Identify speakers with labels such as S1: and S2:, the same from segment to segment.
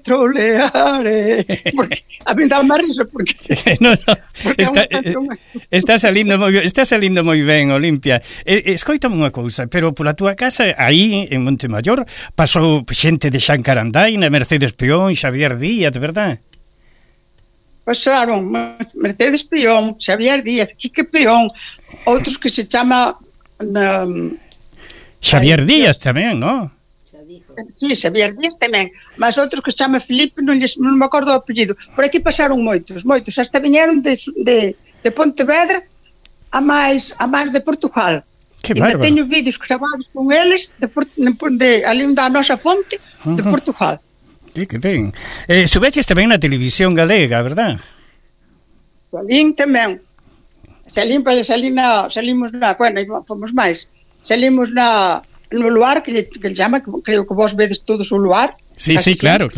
S1: troleare. Porque a mí dá má risa porque
S2: está salindo moi ben, Olimpia. Escoítame unha cousa, pero pola túa casa aí en Montemayor pasou xente de Xan Carandaina, Mercedes Peón, Xavier Díaz, verdad?
S1: Pasaron Mercedes Peón, Xavier Díaz, Quique Peón, outros que se chama
S2: Xavier Díaz tamén, non?
S1: Sí, Xavier Díaz tamén, mas outros que se chama Filipe, non me acordo o apellido. Por aquí pasaron moitos, hasta viñeron de Pontevedra a máis de Portugal.
S2: Que
S1: bárbaro.
S2: bárbaro.
S1: Teño vídeos gravados con eles de ali da nosa fonte de Portugal.
S2: Sí, que ben. Subeches tamén na televisión galega, verdad?
S1: Salín tamén. Salimos na, bueno, fomos máis. Salimos no luar, que le chama, creo que vos vedes todos o luar.
S2: Sí, claro.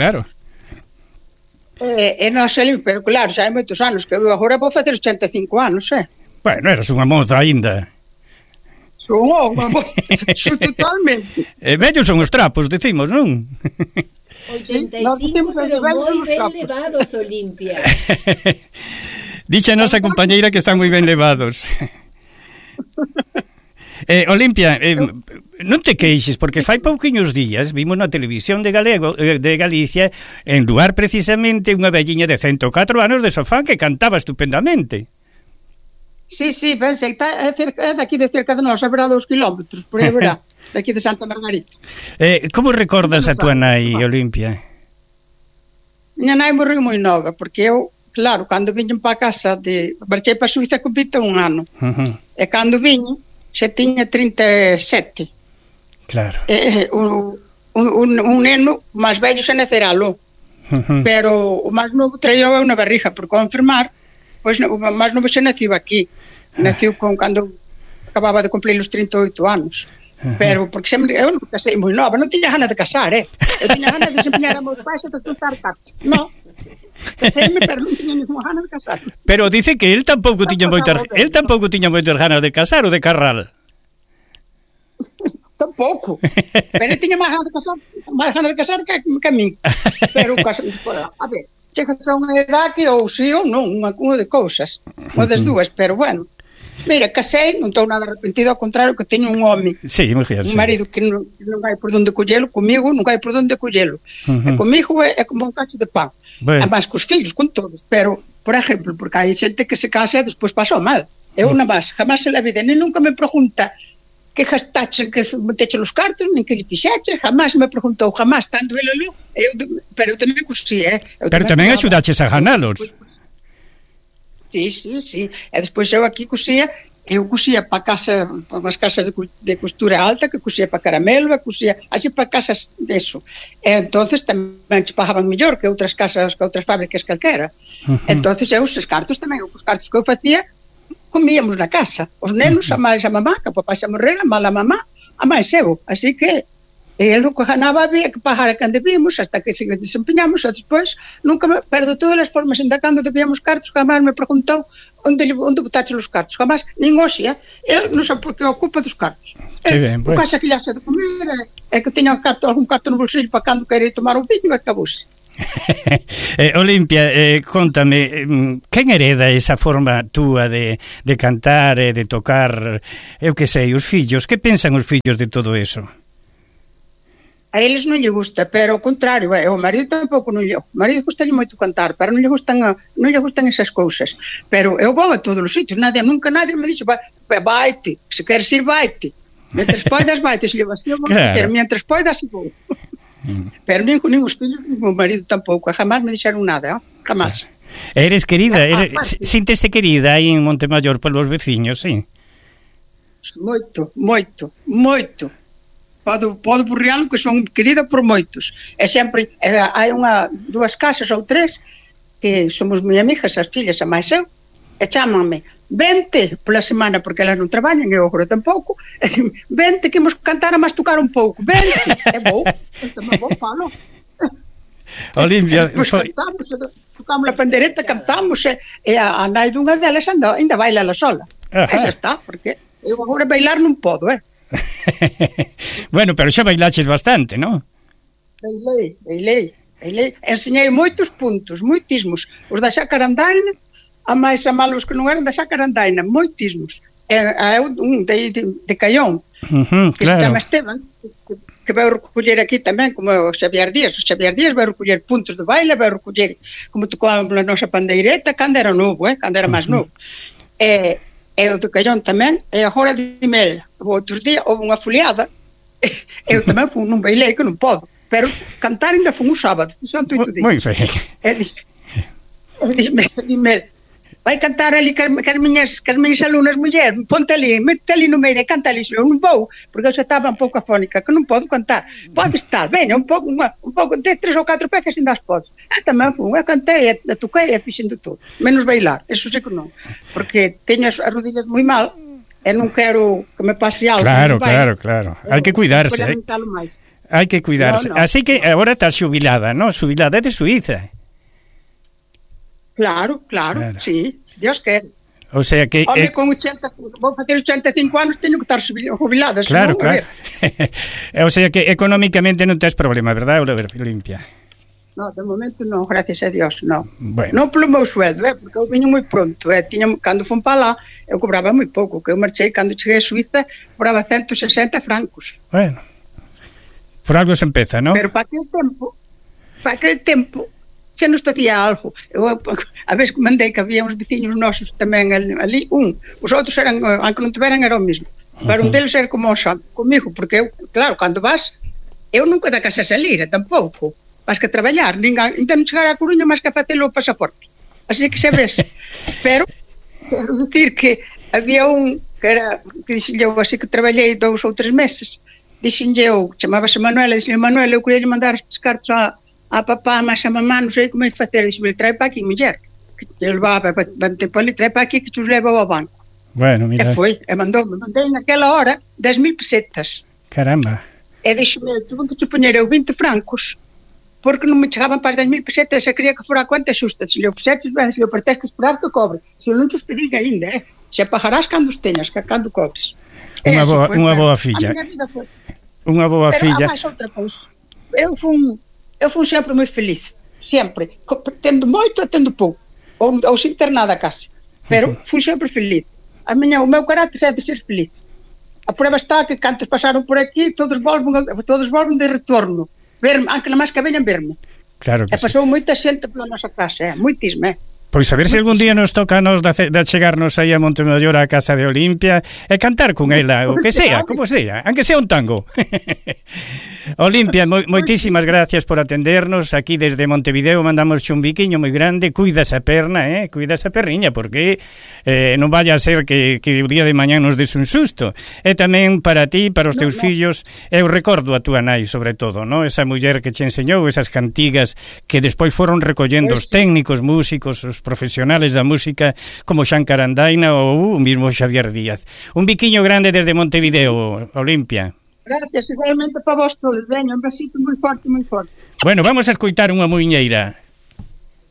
S1: E nós salimos, pero claro, xa hai moitos anos, que eu agora vou facer 85 anos,
S2: Bueno, eras unha moza aínda.
S1: Son unha moza, totalmente.
S2: Vellos son os trapos, decimos, non?
S3: 85, pero moi ben levados, Olimpia.
S2: Dixe a nosa compañeira que están moi ben levados. Olimpia, non te queixes, porque fai pouquiños días vimos na televisión de Galicia, en lugar precisamente unha velliña de 104 anos de sofá que cantaba estupendamente.
S1: Sí, pensei, é daqui de cerca de nós, haberá 2 kilómetros, por aí verá, daqui de Santa Margarita.
S2: Como recordas a tua nai, Olimpia?
S1: Miña nai morreu moi nova, porque eu, claro, cando viñen para a casa, marchei para a Suíza con 21 anos, e cando viñen, xa tiña 37.
S2: Claro.
S1: Un neno máis vello xa naceralo, pero o máis novo traía eu na barriga por confirmar, pois o máis novo xa naciu aquí. Naciu cando acababa de cumplir os 38 anos. Pero, porque eu non casei moi nova, non tiña gana de casar, Eu tiña gana de desempeñar a meus pais e de juntar cartos. Non. Pero non tiña ninguna gana de casar.
S2: Pero dice que él tampouco tiña moitas ganas de casar ou de carral.
S1: Tampouco. Pero tiña máis gana de casar que a mí. Pero a ver, chegas a unha edad que ou sí ou non, unha de cousas, unha das dúas, pero bueno. Mira, casei, non estou nada arrepentido, ao contrario, que teño un home, un marido que non hai por onde collelo, comigo non hai por onde collelo. E comigo é como un cacho de pan. Además, cos filhos, con todos. Pero, por exemplo, porque hai xente que se casa e despois pasou mal. Eu jamás en la vida, nem nunca me pregunta que gastaches, que meteche os cartos, nin que lle fixeches, jamás me preguntou, jamás, tanto ele lo, pero eu tamén cosía,
S2: Pero tamén axudaches a ganalos.
S1: Sí. E despois eu aquí cosía para casa, para as casas de costura alta, que cosía para caramelo, cosía así para casas deso. E entonces tamén che pagaban mellor que outras casas, que outras fábricas calquera. Entonces eu os cartos tamén, os cartos que eu facía, comíamos na casa. Os nenos, a máis a mamá, que a papá xa morrera, a mala mamá, a máis eu. Así que el o que ganaba había que pagar a cando vimos hasta que se desempeñamos, e despois pero de todas as formas, ainda cando debíamos cartos, jamás me preguntou onde botache os cartos, jamás, nin hoxe, eu non sei por que ocupa dos cartos. O casa que lle hace de comer é que teña algún carto no bolsillo para cando quere tomar un viño e acabouse.
S2: Olimpia, contame, quen hereda esa forma túa de cantar e de tocar, eu que sei, os fillos, que pensan os fillos de todo eso?
S1: A eles non lle gusta, pero ao contrario, o marido tampouco non lle. O marido gustalle moito cantar, pero non lle gustan esas cousas. Pero eu vou a todos os sitios, nunca nadie me dixo, vaite, se queres ir, vaite. Mientras poidas, vaite, se lle vas a meter, mientras poidas, vou. Pero nin os fillos, nin o marido tampouco, jamás me dixeron nada, jamás.
S2: Eres querida, síntese querida aí en Montemayor polos veciños, sí?
S1: Moito. Podo burrialo que son querida por moitos. E sempre hai dúas casas ou tres que somos moi amigas, as fillas, a máis eu, e chámanme, vente pola semana, porque elas non traballan, eu agora tampouco, vente que imos cantar a mastucar un pouco, vente, e vou, falo.
S2: Olimpia,
S1: tocamos a pandereta, cantamos, e a nai dunha delas ainda baila la sola. E xa está, porque eu agora bailar non podo,
S2: Bueno, pero xa bailaches bastante, non?
S1: Bailei. Enseñei moitos puntos, moitísimos. Os da Xacarandaina, a máis a malos que non eran da Xacarandaina, moitísimos. Un de Caión, que se chama Esteban, que vai recoller aquí tamén, como o Xavier Díaz. O Xavier Díaz vai recoller puntos de baile, vai recoller como tocábamos na nosa pandeireta, cando era novo, cando era máis novo. E o de Caión tamén, e agora de Mel. O outro día houve unha foliada, eu tamén fui nun baile que non podo, pero cantar ainda fui un sábado, son 8 días.
S2: Moi ben.
S1: Dime, vai cantar ali que as miñas alumnas mulleres, ponte ali, mete ali no meio e canta ali. Eu non vou, porque eu xa estaba un pouco afónica, que non podo cantar. Pode estar, veña, un pouco de 3 ou 4 peces ainda as podes. Tamén fui, eu cantei, toquei e fixendo todo, menos bailar, eso sei que non, porque teño as rodillas moi mal e non quero que me pase algo.
S2: Claro. Hai que cuidarse, hai que cuidarse. Así que agora estás xubilada, non? Xubilada de Suiza. Claro, sí, Dios quer. O sea que...
S1: Home, con 80, vou facer 85 anos, teño que estar jubilada.
S2: Claro. O sea que económicamente non tens problema, verdad, Olimpia?
S1: No, de momento non, gracias a Dios, non.
S2: Bueno.
S1: Non polo meu sueldo, porque eu viño moi pronto. Cando fun para lá, eu cobraba moi pouco, que eu marchei, cando cheguei a Suiza, cobraba 160 francos.
S2: Bueno, por algo se empeza, non?
S1: Pero para aquel tempo, xa nos facía algo. Eu a vez mandei que había uns veciños nosos tamén ali, os outros eran, aunque non tiveran, era o mesmo, pero un deles era como o santo comigo, porque eu, claro, cando vas, eu nunca da casa salir, tampouco, vas que traballar, ainda non chegar a Coruña máis que a facer o pasaporte, así que xa ves. Pero quero dicir que había un que dixenlle eu, así que traballei 2 ou 3 meses, dixenlle eu, chamábase Manuela, dixenlle Manuela, eu queria mandar estes cartos a papá, mas a mamá, non sei como é que facer. Dixenlle, trae para aquí, muller, que ele vai para ali, trae para aquí que te os leva ao banco.
S2: Bueno, mira.
S1: E foi, e mandei naquela hora 10.000 pesetas.
S2: Caramba.
S1: E dixenlle, tuve que supoñer eu 20 francos, porque non me chegaban para 10.000 pesetas, e quería que fora a conta xusta. Se lhe ofreces, ben, se lhe tens que esperar que cobre. Se non te esperes ainda, se pagarás cando os teñas, que cando cobres.
S2: Unha boa filla. Unha boa filla.
S1: Eu fui sempre moi feliz, sempre, tendo moito e tendo pouco, ou sin ter nada casi, pero fui sempre feliz. O meu carácter é de ser feliz. A prueba está que cantos pasaron por aquí, todos volven de retorno, verme, aunque non máis que veñan verme.
S2: Claro que
S1: e pasou moita xente pola nosa casa, moitísima,
S2: Pois a ver se algún día nos toca nos de chegarnos aí a Montemaior á casa de Olimpia e cantar con ela, o que sea, como sea, aunque sea un tango. Olimpia, moitísimas gracias por atendernos aquí desde Montevideo, mandamos un biquiño moi grande, cuida esa perna, cuida esa perriña, porque non vaya a ser que o día de mañán nos des un susto. E tamén para ti, para os teus fillos, eu recordo a túa nai, sobre todo, ¿no? Esa muller que che enseñou esas cantigas que despois foron recollendo os técnicos, músicos, os profesionales da música como Xan Carandaina ou o mismo Xavier Díaz. Un biquiño grande desde Montevideo, Olimpia.
S1: Gracias, igualmente para vos todos. Veña, un besito moi forte, moi forte.
S2: Bueno, vamos a escoitar unha muiñeira.